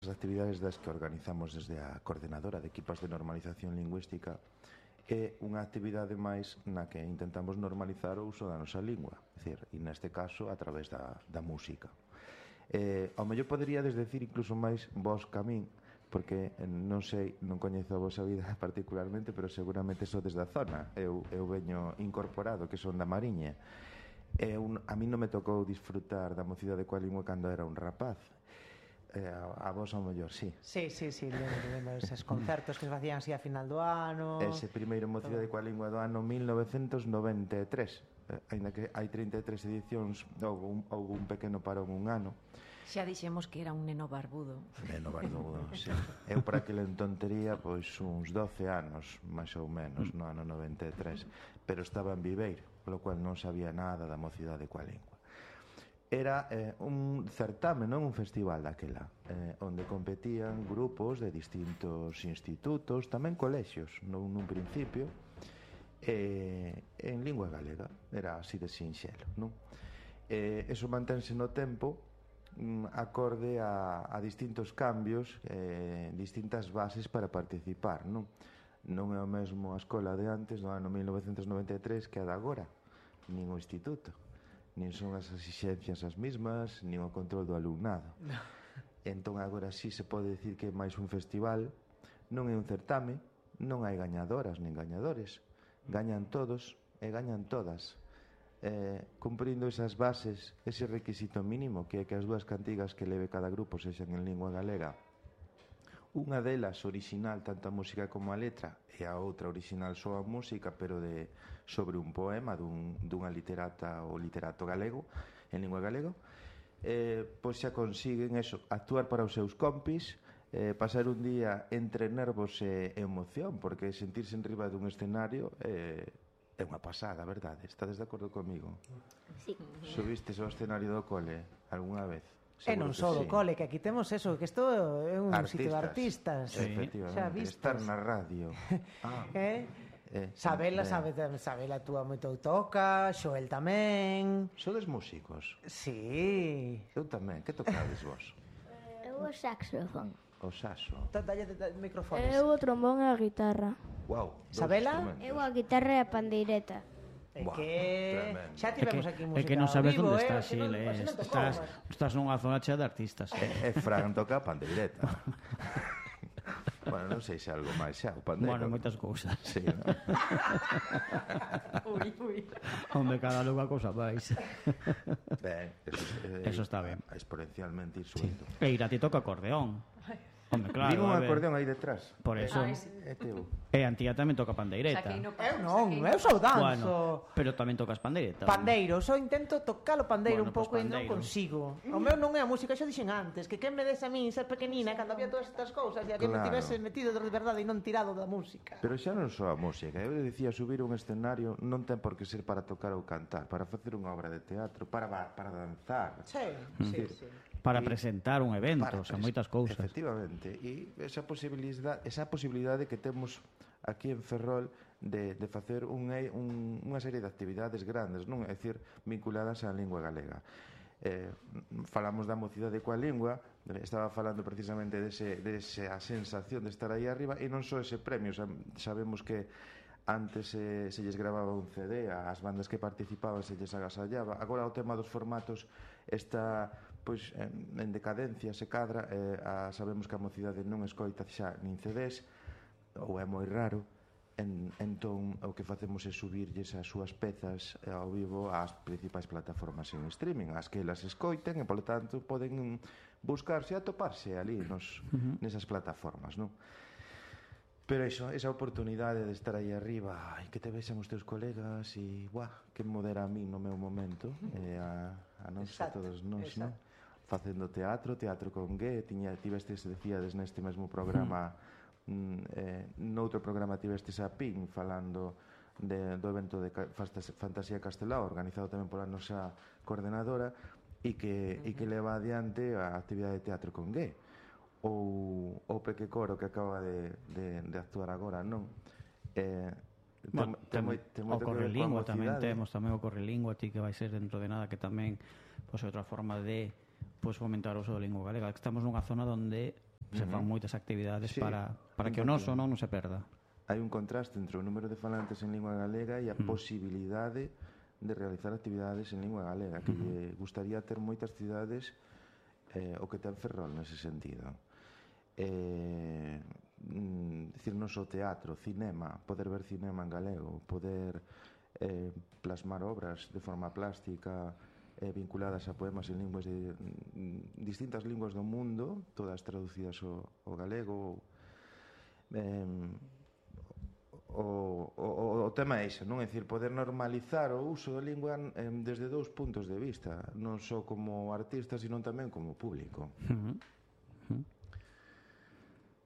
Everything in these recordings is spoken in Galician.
As actividades das que organizamos desde a Coordenadora de Equipas de Normalización Lingüística é unha actividade máis na que intentamos normalizar o uso da nosa lingua, é dicir, e neste caso a través da música. Ao mellor poderíades decir incluso máis vos que a min, porque non sei, non coñezo a vosa vida particularmente, pero seguramente sodes da zona. Eu veño incorporado, que son da Mariña. A min non me tocou disfrutar da mocidade coa lingua cando era un rapaz. A vos ao mellor, sí. Sí, lembro eses concertos que se facían así a final do ano. Ese primeiro mocidade coa lingua do ano 1993. Ainda que hai 33 edicións, houve un pequeno parón un ano. Xa dixemos que era un neno barbudo. Neno barbudo, sí. Eu para aquele entón tería pois uns 12 anos, máis ou menos, no ano 93, pero estaba en Viveiro, polo cual non sabía nada da mocidade coa lingua. Era un certame, non un festival daquela, onde competían grupos de distintos institutos, tamén colexios, nun principio, en lingua galega. Era así de sinxelo, non? Eso mantense no tempo acorde a distintos cambios, distintas bases para participar, non? Non é o mesmo a escola de antes, do ano 1993, que a de agora, nin o instituto. Nin son as exixencias as mismas, nin o control do alumnado. No. Entón agora sí se pode dicir que é máis un festival, non é un certame, non hai gañadoras nin gañadores, gañan todos e gañan todas, cumprindo esas bases, ese requisito mínimo, que é que as dúas cantigas que leve cada grupo sexan en lingua galega, unha delas original, tanto a música como a letra, e a outra original só a música, pero sobre un poema dunha literata ou literato galego, en lingua galego, pois xa consiguen eso, actuar para os seus compis, pasar un día entre nervos e emoción, porque sentirse en riba dun escenario é unha pasada, verdade? Estades de acordo comigo? Sí. Subistes ao escenario do cole algunha vez? E non só do cole, que aquí temos eso, que isto é un sitio de artistas. Sí, efectivamente, estar na radio. Sabela túa moito toca, Xoel tamén. Sodes músicos? Sí. Eu tamén, que tocades vos? Eu o saxofón. O saxo. Dalle microfones. Eu o trombón e a guitarra. Wow, Sabela? Eu a guitarra e a pandeireta. É que xa tivemos aquí música. É que non sabes onde estás, Xil, estás nunha zona chea de artistas. E Fran toca a pandeireta. Bueno, non sei se algo máis xa, o pandeiro. Bueno, moitas cousas. Sí, ¿no? Ui. Onde cada lugar cousa máis. Ben, eso está ben. Exponencialmente ir subindo. E Irati toca acordeón. Hombre, claro. Digo un acordeón aí detrás. Por eso. É teu. E Antía tamén toca pandeireta. Eu non, eu só danzo. Bueno, pero tamén tocas pandeireta. Pandeiro, só intento tocar o pandeiro un Bueno, pouco pues e non pandeiro. consigo. O meu non é a música, xa dixen antes, que quen me des a min ser pequenina cando había todas estas cousas e a que me Claro. tivese metido de verdade e non tirado da música. Pero xa non só a música. Eu dicía, subir un escenario non ten por que ser para tocar ou cantar, para facer unha obra de teatro, para danzar. Sí. Para presentar un evento, moitas cousas. Efectivamente, e esa posibilidade que temos aquí en Ferrol de facer unha serie de actividades grandes, non? É dicir, vinculadas á lingua galega. Falamos da mocidade coa lingua, estaba falando precisamente desa sensación de estar aí arriba, e non só ese premio, sabemos que antes se lles grababa un CD, as bandas que participaban se lles agasallaba. Agora o tema dos formatos está pois en decadencia, se cadra, sabemos que a mocidade non escoita xa nin CDs, ou é moi raro. Entón o que facemos é subirlles as súas pezas ao vivo ás principais plataformas en streaming, as que elas escoiten, e polo tanto poden buscarse e atoparse ali nesas plataformas, non? Pero esa oportunidade de estar aí arriba e que te vexan os teus colegas e, que modera a mí no meu momento, a nós, a todos nós, non? Facendo teatro con G, tivestes, decíades neste mesmo programa, noutro programa tivestes a PIN falando do evento de Fantasía Castelao, organizado tamén pola nosa coordenadora, e que leva adiante a actividade de teatro con G. Ou o Peque Coro que acaba de actuar agora, non? O Correlingua tamén temos, tamén o Correlingua, ti que vai ser dentro de nada, que tamén é outra forma de fomentar o uso da lingua galega. Estamos nunha zona onde se fan moitas actividades Sí, para que o noso non se perda. Hai un contraste entre o número de falantes en lingua galega e a posibilidade de realizar actividades en lingua galega, que lle gustaría ter moitas cidades o que ten Ferrol nese sentido. Dicir, non só teatro, cinema, poder ver cinema en galego, poder plasmar obras de forma plástica vinculadas a poemas en linguas de distintas linguas do mundo, todas traducidas ao galego. O tema é iso, non? É dicir, poder normalizar o uso da lingua desde dous puntos de vista, non só como artista, sino tamén como público.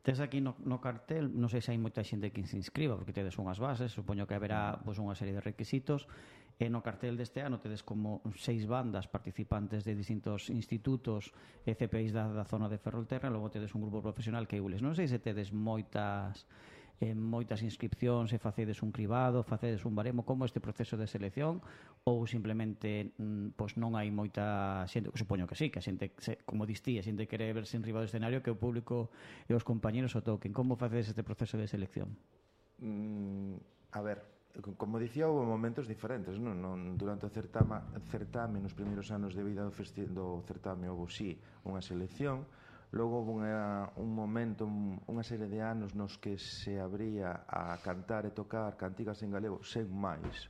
Tes aquí no cartel, non sei se hai moita xente que se inscriba, porque tedes unhas bases, supoño que haberá unha serie de requisitos, e no cartel deste ano tedes como 6 bandas participantes de distintos institutos e CPIs da zona de Ferrolterra, logo tedes un grupo profesional que é Ules. Non sei se tedes moitas inscripcións, se facedes un cribado, facedes un baremo, como este proceso de selección, ou simplemente non hai moita xente, supoño que sí, que a xente, como distí, a xente quere verse en riba do escenario, que o público e os compañeros o toquen. Como facedes este proceso de selección? A ver, como dicía, houve momentos diferentes, non? Durante o certame, nos primeiros anos de vida do certame, houve sí unha selección. Logo houve un momento, unha serie de anos nos que se abría a cantar e tocar cantigas en galego sen máis.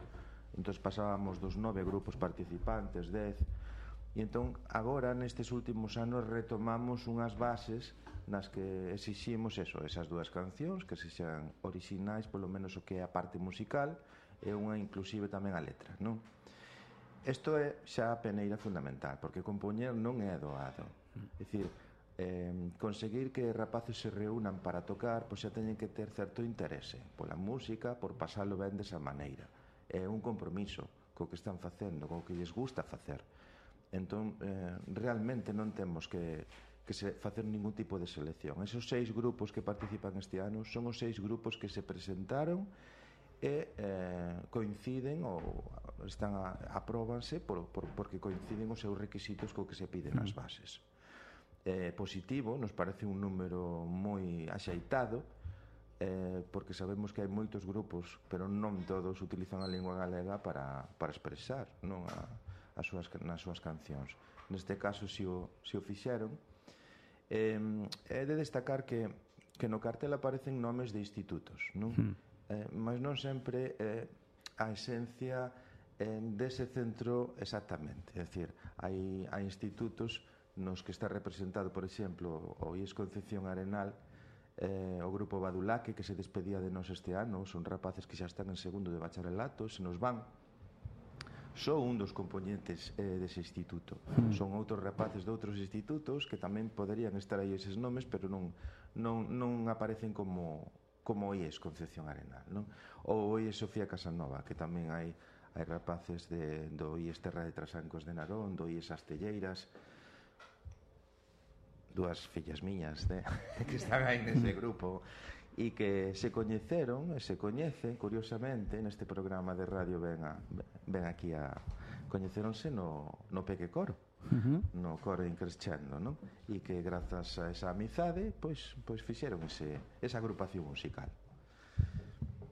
Entón pasábamos dos 9 grupos participantes, 10, e entón agora nestes últimos anos retomamos unhas bases nas que exiximos esas dúas cancións que sexan orixinais, polo menos o que é a parte musical, e unha inclusive tamén a letra, non? Isto é xa a peneira fundamental, porque compoñer non é doado. É dicir, conseguir que rapaces se reúnan para tocar, pois xa teñen que ter certo interese pola música, por pasalo ben desa maneira. É un compromiso co que están facendo, co que lles gusta facer. Entón, realmente non temos que facer ningún tipo de selección. Esos 6 grupos que participan este ano son os 6 grupos que se presentaron e coinciden ou apróbanse porque coinciden os seus requisitos co que se piden nas bases. Positivo, nos parece un número moi axeitado, porque sabemos que hai moitos grupos, pero non todos utilizan a lingua galega para expresar, non, nas súas cancións. Neste caso, se o fixeron. É de destacar que no cartel aparecen nomes de institutos, non? Mas non sempre a esencia dese centro exactamente. É dicir, hai institutos nos que está representado, por exemplo, o IES Concepción Arenal, o grupo Badulaque, que se despedía de nós este ano, son rapaces que xa están en segundo de bacharelato, se nos van. Só un dos componentes dese instituto. Son outros rapaces de outros institutos que tamén poderían estar aí eses nomes, pero non aparecen como o IES Concepción Arenal, non? Ou o IES Sofía Casanova, que tamén hai rapaces do IES Terra de Trasancos de Narón, do IES Astelleiras, dúas fillas miñas que están aí nese grupo e que se coñeceron e se coñecen, curiosamente, neste programa de radio ven aquí a coñeceronse no Peque Coro, no Coro Increscendo, non? E que grazas a esa amizade pois fixeron esa agrupación musical.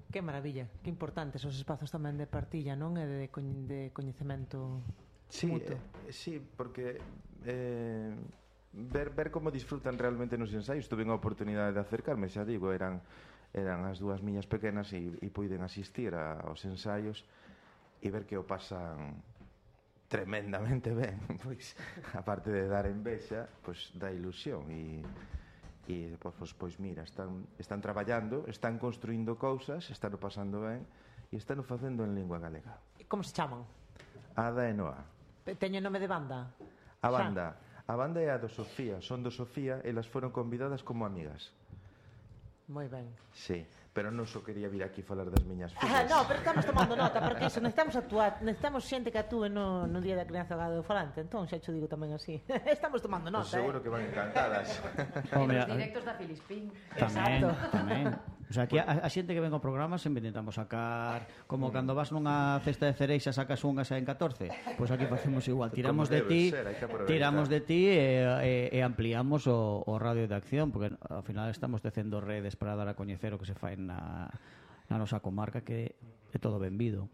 Que maravilla, que importantes os espazos tamén de partilla, non? E de coñecemento mutuo. Sí, porque ver como disfrutan realmente nos ensaios. Tuve a oportunidade de acercarme, xa digo, eran as dúas miñas pequenas e puiden asistir aos ensaios e ver que o pasan tremendamente ben, pois aparte de dar envexa, pois dá ilusión e pois mira, están traballando, están construindo cousas, están pasando ben e están facendo en lingua galega. Como se chaman? Ada e Noa. Teño nome de banda? A banda é a do Sofía, son do Sofía, elas foron convidadas como amigas. Moi ben. Sí, pero non só quería vir aquí falar das miñas fillas. No, pero estamos tomando nota, porque iso, necesitamos xente que actúe no Día da Crianza Galegofalante, entón xa xo digo tamén así. Estamos tomando nota, Seguro que van encantadas. Os directos da Filispín. Tamén. O sea, aquí a xente que ven ao programa sempre intentamos sacar, como cando vas nunha cesta de cereixa sacas unhas en 14, pois aquí facemos igual, tiramos de ti e ampliamos o radio de acción, porque ao final estamos tecendo redes para dar a coñecer o que se fai na nosa comarca, que é todo benvido.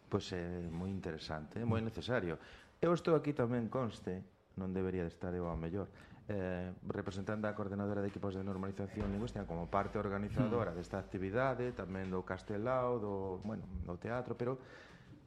Pois é moi interesante, é moi necesario. Eu estou aquí tamén, conste, non debería de estar eu ao mellor, representando a coordenadora de equipos de normalización lingüística como parte organizadora desta actividade, tamén do Castelao, do teatro, pero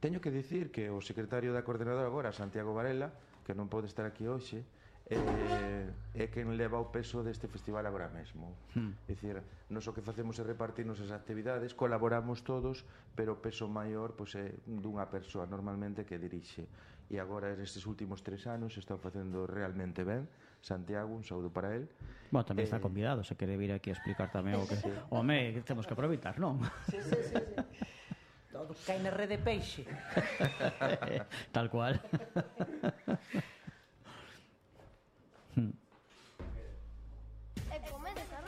teño que dicir que o secretario da coordenadora agora, Santiago Varela, que non pode estar aquí hoxe, é quen leva o peso deste festival agora mesmo. É dicir, nos o que facemos é repartirnos as actividades, colaboramos todos, pero o peso maior é dunha persoa normalmente que dirixe. E agora, nestes últimos 3 anos, está facendo realmente ben. Santiago, un saúdo para él. Bueno, tamén está convidado, se quere vir aquí a explicar tamén o que... Home, que temos que aproveitar, non? Sí. Todo cae na rede peixe. Tal cual. E comezar